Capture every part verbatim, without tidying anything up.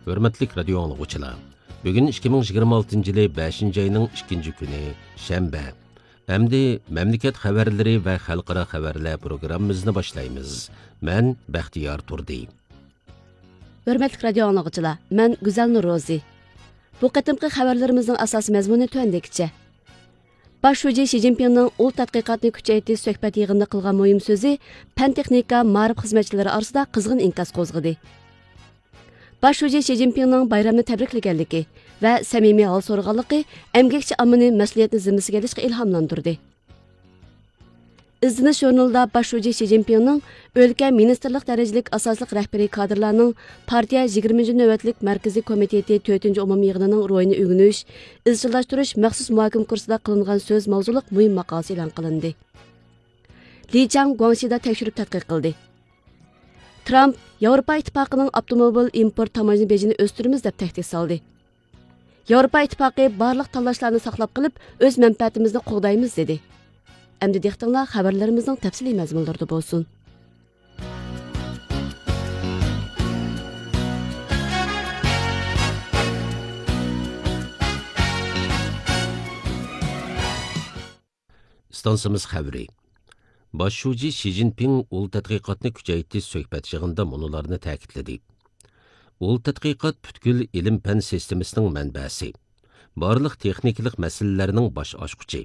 ھۆرمەتلىك رادىيو ئاڭلىغۇچىلار، بۈگۈن ئىككى مىڭ يىگىرمە ئالتىنچى يىلى بەشىنچى ئاينىڭ ئىككىنچى كۈنى، شەنبە. ئەمدى مەملىكەت خەۋەرلىرى ۋە خەلقئارا خەۋەرلەر پروگراممىمىزنى باشلايمىز. مەن بەختىيار تۇردى. ھۆرمەتلىك رادىيو ئاڭلىغۇچىلار، مەن گۈزەل نۇرروزى. بۇ قېتىمقى خەۋەرلىرىمىزنىڭ ئاساسىي مەزمۇنى تۆۋەندىكىچە. باش شۇجى شى جىنپىڭنىڭ ئۇل تەتقىقاتنى كۈچەيتىش سۆھبەت يىغىنىدا قىلغان مۇھىم سۆزى پەن-تېخنىكا، مائارىپ خىزمەتچىلىرى ئارىسىدا قىزغىن ئىنكاس قوزغىدى. باش شۇجى شى جىنپىڭنىڭ بايرامنى تەبرىكلىگەنلىكى ۋە سەمىمىي ھال سورىغانلىقى ئەمگەكچى ئاممىنى مەسئۇلىيەتنى زىممىسىگە ئېلىشقا ئىلھاملاندۇردى. ئىزدىنىش ژۇرنىلىدا باش شۇجى شى جىنپىڭنىڭ ئۆلكە، مىنىستىرلىق دەرىجىلىك ئاساسلىق رەھبىرىي كادىرلارنىڭ پارتىيە يىگىرمىنچى نۆۋەتلىك مەركىزىي كومىتېتى تۆتىنچى ئومۇمىي يىغىنىنىڭ روھىنى ئۆگىنىش، ئىزچىللاشتۇرۇش مەخسۇس مۇھاكىمە كۇرسىدا قىلىنغان سۆز ماۋزۇلۇق مۇھىم ماقالىسى ئېلان قىلىندى. لى چاڭ گۇاڭشىدا تەكشۈرۈپ تەتقىق قىلدى. ترامپ ياۋروپا ئىتتىپاقىنىڭ ئاپتوموبىل ئىمپورت تاموژنا بېجىنى ئۆستۈرىمىز دەپ تەھدىت سالدى. ياۋروپا ئىتتىپاقى بارلىق تاللاشلارنى ساقلاپ قېلىپ، ئۆز مەنپەئەتىمىزنى قوغدايمىز، دېدى. ئەمدى دىققىتىڭلار خەۋەرلىرىمىزنىڭ تەپسىلىي مەزمۇنلىرىدا بولسۇن. ئىستانسىمىز خەۋىرى. باش شۇجى شى جىنپىڭ ئۇل تەتقىقاتنى كۈچەيتىش سۆھبەت يىغىنىدا مۇنۇلارنى تەكىتلىدى: ئۇل تەتقىقات پۈتكۈل ئىلىم-پەن سىستېمىسىنىڭ مەنبەسى، بارلىق تېخنىكىلىق مەسىلىلەرنىڭ باش ئاچقۇچى.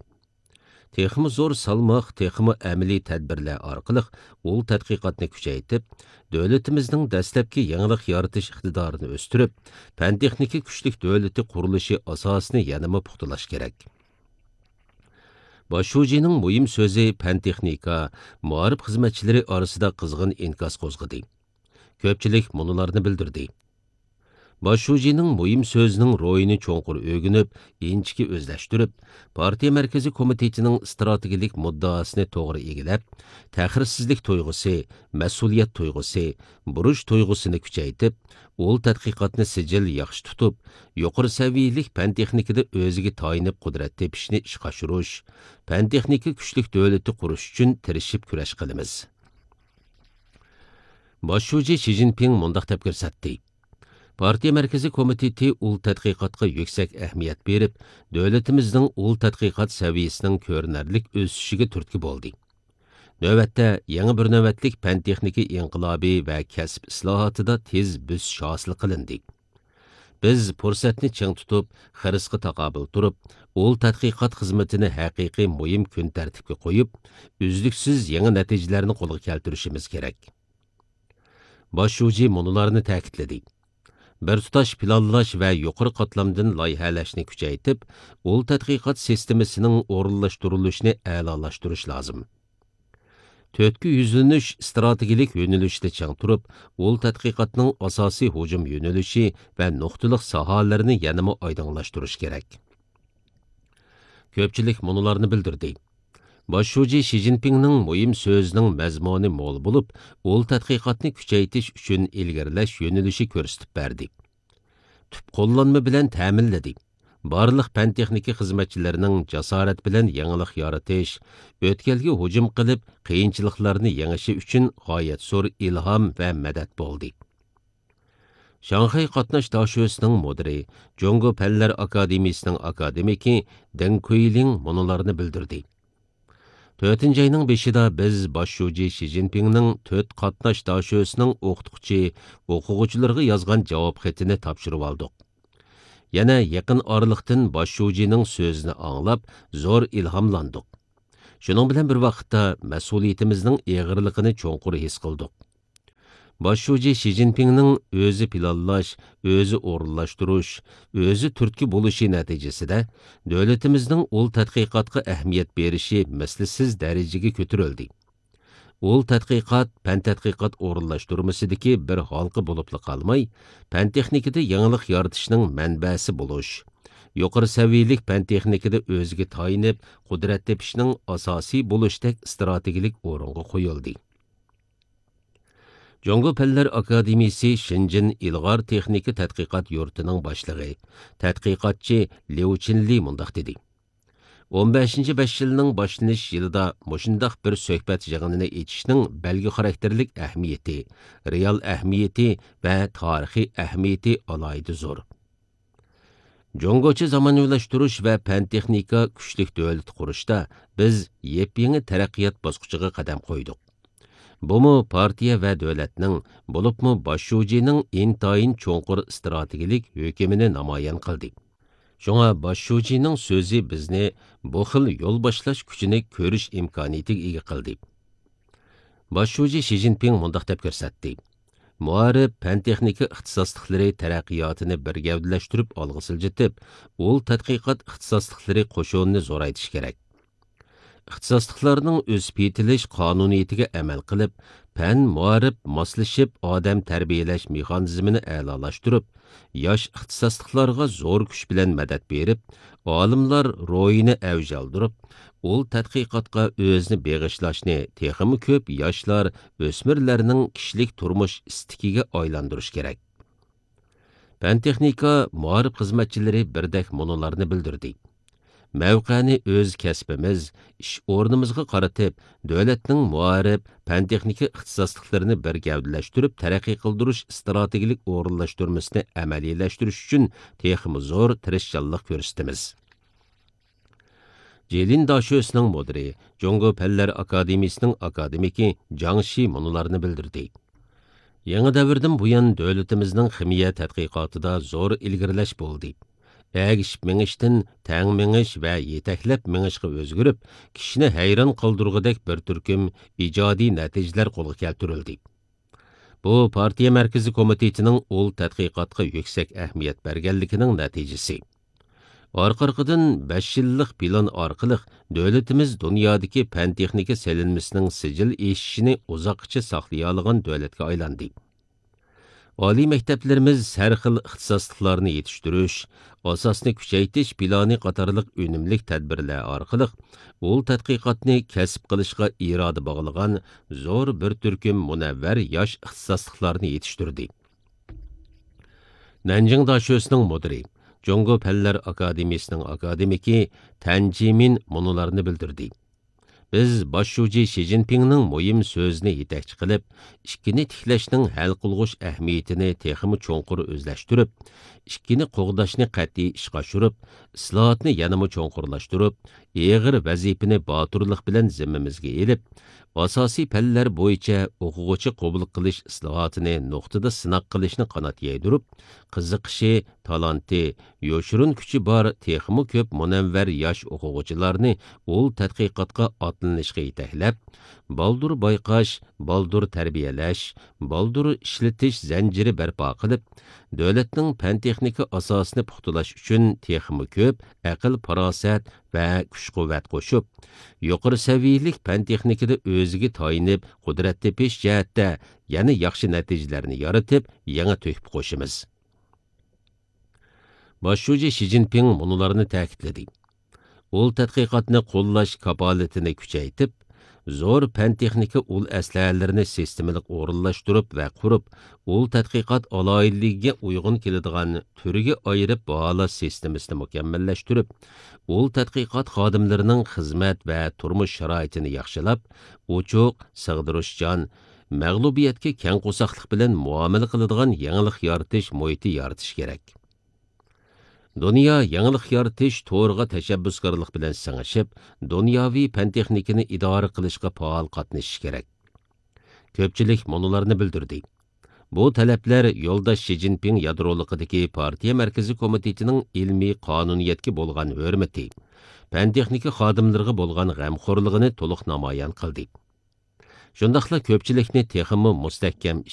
تېخىمۇ زور سالماق، تېخىمۇ ئەمەلىي تەدبىرلەر ئارقىلىق ئۇل تەتقىقاتنى كۈچەيتىپ، دۆلىتىمىزنىڭ دەسلەپكى يېڭىلىق يارىتىش ئىقتىدارىنى ئۆستۈرۈپ، پەن-تېخنىكا كۈچلۈك دۆلىتى قۇرۇلۇشى ئاساسىنى يەنىمۇ پۇختىلاش كېرەك. باش شۇجىنىڭ مۇھىم سۆزى پەن-تېخنىكا، مائارىپ خىزمەتچىلىرى ئارىسىدا قىزغىن ئىنكاس قوزغىدى. كۆپچىلىك مۇنۇلارنى بىلدۈردى. باش شۇجىنىڭ مۇھىم سۆزىنىڭ روھىنى چوڭقۇر ئۆگىنىپ، ئىنچىكە ئۆزلەشتۈرۈپ، پارتىيە مەركىزىي كومىتېتىنىڭ ئىستراتېگىيەلىك مۇددىئاسىنى توغرا ئىگىلەپ، تەخىرسىزلىك تۇيغۇسى، مەسئۇلىيەت تۇيغۇسى، بۇرچ تۇيغۇسىنى كۈچەيتىپ، ئۇل تەتقىقاتنى سىجىل ياخشى تۇتۇپ، يۇقىرى سەۋىيەلىك پەن-تېخنىكىدا ئۆزىگە تايىنىپ قۇدرەت تېپىشنى ئىشقا ئاشۇرۇش، پەن-تېخنىكا كۈچلۈك دۆلىتى قۇرۇش ئۈچۈن تىرىشىپ كۈرەش قىلىمىز. باش شۇجى شى جىنپىڭ مۇنداق دەپ كۆرسەتتى: پارتىيە مەركىزىي كومىتېتى ئۇل تەتقىقاتقا يۈكسەك ئەھمىيەت بېرىپ، دۆلىتىمىزنىڭ ئۇل تەتقىقات سەۋىيەسىنىڭ كۆرۈنەرلىك ئۆسۈشىگە تۈرتكە بولدى. نۆۋەتتە، يېڭى بىر نۆۋەتلىك پەن-تېخنىكا ئىنقىلابى ۋە كەسىپ ئىسلاھاتىدا تېز بۆسۈش ھاسىل قىلىندى. بىز پۇرسەتنى چىڭ تۇتۇپ، خىرىسقا تاقابىل تۇرۇپ، ئۇل تەتقىقات خىزمىتىنى ھەقىقىي مۇھىم كۈن تەرتىپكە قويۇپ، ئۈزلۈكسىز يېڭى نەتىجىلەرنى قولغا كەلتۈرۈشىمىز كېرەك. باش شۇجى مۇنۇلارنى تەكىتلىدى: بىر تۇتاش پىلانلاش ۋە يۇقىرى قاتلامدىن لايىھەلەشنى كۈچەيتىپ، ئۇل تەتقىقات سىستېمىسىنىڭ ئورۇنلاشتۇرۇلۇشىنى ئەلالاشتۇرۇش لازىم. تۆتكە يۈزلىنىش ئىستراتېگىيەلىك يۆنىلىشىدە چىڭ تۇرۇپ، ئۇل تەتقىقاتنىڭ ئاساسىي ھۇجۇم يۆنىلىشى ۋە نۇقتىلىق ساھەلىرىنى يەنىمۇ ئايدىڭلاشتۇرۇش كېرەك. كۆپچىلىك مۇنۇلارنى بىلدۈردى. باش شۇجى شى جىنپىڭنىڭ مۇھىم سۆزىنىڭ مەزمۇنى مول بولۇپ، ئۇل تەتقىقاتنى كۈچەيتىش ئۈچۈن ئىلگىرىلەش يۆنىلىشى كۆرسىتىپ بەردى. تۈپ قوللانما بىلەن تەمىنلىدى. بارلىق پەن-تېخنىكا خىزمەتچىلىرىنىڭ جاسارەت بىلەن يېڭىلىق يارىتىش، ئۆتكەلگە ھۇجۇم قىلىپ، قىيىنچىلىقلارنى يېڭىشى ئۈچۈن غايەت زور ئىلھام ۋە مەدەت بولدى. شاڭخەي قاتناش داشۆسىنىڭ مۇدىرى، جۇڭگو پەنلەر ئاكادېمىيىسىنىڭ ئاكادېمىكى دېڭ كۇيلىڭ مۇنۇلارنى بىلدۈردى: تۆتىنچى ئاينىڭ بېشىدا بىز باش شۇجى شى جىنپىڭنىڭ تۆت قاتناش داشۆسىنىڭ ئوقۇتقۇچى، ئوقۇغۇچىلىرىغا يازغان جاۋاب خېتىنى تاپشۇرۇۋالدۇق. يەنە يېقىن ئارىلىقتىن باش شۇجىنىڭ سۆزىنى ئاڭلاپ، زور ئىلھاملاندۇق. شۇنىڭ بىلەن بىر ۋاقىتتا، مەسئۇلىيىتىمىزنىڭ ئېغىرلىقىنى چوڭقۇر ھېس قىلدۇق. باش شۇجى شى جىنپىڭنىڭ ئۆزى پىلانلاش، ئۆزى ئورۇنلاشتۇرۇش، ئۆزى تۈرتكە بولۇشى نەتىجىسىدە، دۆلىتىمىزنىڭ ئۇل تەتقىقاتقا ئەھمىيەت بېرىشى مىسلىسىز دەرىجىگە كۆتۈرۈلدى. ئۇل تەتقىقات پەن تەتقىقات ئورۇنلاشتۇرمىسىدىكى بىر ھالقا بولۇپلا قالماي، پەن تېخنىكىدا يېڭىلىق يارىتىشنىڭ مەنبەسى بولۇش، يۇقىرى سەۋىيەلىك پەن تېخنىكىدا ئۆزىگە تايىنىپ قۇدرەت تېپىشنىڭ ئاساسىي بولۇشتەك ئىستراتېگىيەلىك ئورۇنغا قويۇلدى. جۇڭگو پەنلەر ئاكادېمىيىسى شېنجېن ئىلغار تېخنىكا تەتقىقات يۇرتىنىڭ باشلىقى، تەتقىقاتچى ليۇ چىنلى مۇنداق دېدى: ئون بەشىنچى بەش يىلنىڭ باشلىنىش يىلىدا مۇشۇنداق بىر سۆھبەت يىغىنىنى ئېچىشنىڭ بەلگە خاراكتېرلىك ئەھمىيىتى، رېئال ئەھمىيىتى ۋە تارىخىي ئەھمىيىتى ئالاھىدە زور. جۇڭگوچە زامانىۋىلاشتۇرۇش ۋە پەن-تېخنىكا كۈچلۈك دۆلىتى قۇرۇشتا بىز يېپيېڭى تەرەققىيات باسقۇچىغا قەدەم قويدۇق. بۇمۇ پارتىيە ۋە دۆلەتنىڭ، بولۇپمۇ باش شۇجىنىڭ ئىنتايىن چوڭقۇر ئىستراتېگىيەلىك ھۆكۈمىنى نامايان قىلدى. شۇڭا باش شۇجىنىڭ سۆزى بىزنى بۇ خىل يول باشلاش كۈچىنى كۆرۈش ئىمكانىيىتىگە ئىگە قىلدى. باش شۇجى شى جىنپىڭ مۇنداق دەپ كۆرسەتتى: مائارىپ، پەن-تېخنىكا ئىختىساسلىقلىرى تەرەققىياتىنى بىر گەۋدىلەشتۈرۈپ ئالغا سىلجىتىپ، ئۇل تەتقىقات ئىختىساسلىقلىرى قوشۇنىنى زورايتىش كېرەك. ئىختىساسلىقلارنىڭ ئۆسۈپ يېتىلىش قانۇنىيىتىگە ئەمەل قىلىپ، پەن، مائارىپ ماسلىشىپ، ئادەم تەربىيەلەش مېخانىزمىنى ئەلالاشتۇرۇپ، ياش ئىختىساسلىقلارغا زور كۈچ بىلەن مەدەت بېرىپ، ئالىملار روھىنى ئەۋج ئالدۇرۇپ، ئۇل تەتقىقاتقا ئۆزىنى بېغىشلاشنى تېخىمۇ كۆپ ياشلار، ئۆسمۈرلەرنىڭ كىشىلىك تۇرمۇش ئىستىكىگە ئايلاندۇرۇش كېرەك. پەن-تېخنىكا، مائارىپ خىزمەتچىلىرى بىردەك مۇنۇلارنى بىلدۈردى: مەۋقەنى ئۆز كەسپىمىز، ئىش ئورنىمىزغا قارىتىپ، دۆلەتنىڭ مائارىپ، پەن-تېخنىكا ئىختىساسلىقلىرىنى بىر گەۋدىلەشتۈرۈپ تەرەققىي قىلدۇرۇش ئىستراتېگىيەلىك ئورۇنلاشتۇرمىسىنى ئەمەلىيلەشتۈرۈش ئۈچۈن تېخىمۇ زور تىرىشچانلىق كۆرسىتىمىز. جېلىن داشۆسىنىڭ مۇدىرى، جۇڭگو پەنلەر ئاكادېمىيىسىنىڭ ئاكادېمىكى جاڭ شى مۇنۇلارنى بىلدۈردى: يېڭى دەۋردىن بۇيان، دۆلىتىمىزنىڭ خىمىيە تەتقىقاتىدا زور ئىلگىرىلەش بولدى. ئەگىشىپ مېڭىشتىن تەڭ مېڭىش ۋە يېتەكلەپ مېڭىشقا ئۆزگىرىپ، كىشىنى ھەيران قالدۇرغۇدەك بىر تۈركۈم ئىجادىي نەتىجىلەر قولغا كەلتۈرۈلدى. بۇ پارتىيە مەركىزىي كومىتېتىنىڭ ئۇل تەتقىقاتقا يۈكسەك ئەھمىيەت بەرگەنلىكىنىڭ نەتىجىسى. ئارقا-ئارقىدىن بەش يىللىق پىلان ئارقىلىق دۆلىتىمىز دۇنيادىكى پەن-تېخنىكا سېلىنمىسىنىڭ سىجىل ئېشىشىنى ئۇزاققىچە ساقلىيالىغان دۆلەتكە ئايلاندى. ئالىي مەكتەپلىرىمىز ھەر خىل ئىختىساسلىقلارنى يېتىشتۈرۈش، ئاساسنى كۈچەيتىش پىلانى قاتارلىق ئۈنۈملۈك تەدبىرلەر ئارقىلىق ئۇل تەتقىقاتنى كەسىپ قىلىشقا ئىرادە باغلىغان زور بىر تۈركۈم مۇنەۋۋەر ياش ئىختىساسلىقلارنى يېتىشتۈردى. نەنجىڭ داشۆسىنىڭ مۇدىرى، جۇڭگو پەنلەر ئاكادېمىيىسىنىڭ ئاكادېمىكى تەن جىمىن مۇنۇلارنى بىلدۈردى: بىز باش شۇجى شى جىنپىڭنىڭ مۇھىم سۆزىنى يېتەكچى قىلىپ، ئىككىنى تىكلەشنىڭ ھەل قىلغۇچ ئەھمىيىتىنى تېخىمۇ چوڭقۇر ئۆزلەشتۈرۈپ، ئىككىنى قوغداشنى قەتئىي ئىشقا ئاشۇرۇپ، ئىسلاھاتنى يەنىمۇ چوڭقۇرلاشتۇرۇپ، ئېغىر ۋەزىپىنى باتۇرلۇق بىلەن زىممىمىزگە ئېلىپ، ئاساسىي پەنلەر بويىچە ئوقۇغۇچى قوبۇل قىلىش ئىسلاھاتىنى نۇقتىدا سىناق قىلىشنى قانات يايدۇرۇپ، قىزىقىشى، تالانتى، يوشۇرۇن كۈچى بار تېخىمۇ كۆپ مۇنەۋۋەر ياش ئوقۇغۇچىلارنى ئۇل تەتقىقاتقا ئاتلىنىشقا يېتەكلەپ، بالدۇر بايقاش، بالدۇر تەربىيەلەش، بالدۇر ئىشلىتىش زەنجىرى بەرپا قىلىپ، دۆلەتنىڭ پەن-تېخنىكا ئاساسىنى پۇختىلاش ئۈچۈن تېخىمۇ كۆپ ئەقىل-پاراسەت ۋە كۈچ-قۇۋۋەت قوشۇپ، يۇقىرى سەۋىيەلىك پەن-تېخنىكىدا ئۆزىگە تايىنىپ، قۇدرەت تېپىش جەھەتتە يەنە ياخشى نەتىجىلەرنى يارىتىپ، يېڭى تۆھپە قوشىمىز. باش شۇجى شى جىنپىڭ مۇنۇلارنى تەكىتلىدى: ئۇل تەتقىقاتنى قوللاش كاپالىتىنى كۈچەيتىپ، زور پەن-تېخنىكا ئۇل ئەسلىھەلىرىنى سىستېمىلىق ئورۇنلاشتۇرۇپ ۋە قۇرۇپ، ئۇل تەتقىقات ئالاھىدىلىكىگە ئۇيغۇن كېلىدىغان تۈرگە ئايرىپ باھالاش سىستېمىسىنى مۇكەممەللەشتۈرۈپ، ئۇل تەتقىقات خادىملىرىنىڭ خىزمەت ۋە تۇرمۇش شارائىتىنى ياخشىلاپ، ئوچۇق، سىغدۇرۇشچان، مەغلۇبىيەتكە كەڭ قورساقلىق بىلەن مۇئامىلە قىلىدىغان يېڭىلىق يارىتىش مۇھىتى يارىتىش كېرەك. دۇنيا يېڭىلىق يارىتىش تورىغا تەشەببۇسكارلىق بىلەن سىڭىشىپ، دۇنياۋى پەن-تېخنىكىنى ئىدارە قىلىشقا پائال قاتنىشىشى كېرەك. كۆپچىلىك مۇنۇلارنى بىلدۈردى: بۇ تەلەپلەر يولداش شى جىنپىڭ يادرولۇقىدىكى پارتىيە مەركىزىي كومىتېتىنىڭ ئىلمىي قانۇنىيەتكە بولغان ھۆرمىتى، پەن-تېخنىكا خادىملىرىغا بولغان غەمخورلۇقىنى تولۇق نامايان قىلدى. شۇنداقلا كۆپچىلىكنى تېخىمۇ مۇستەھكەم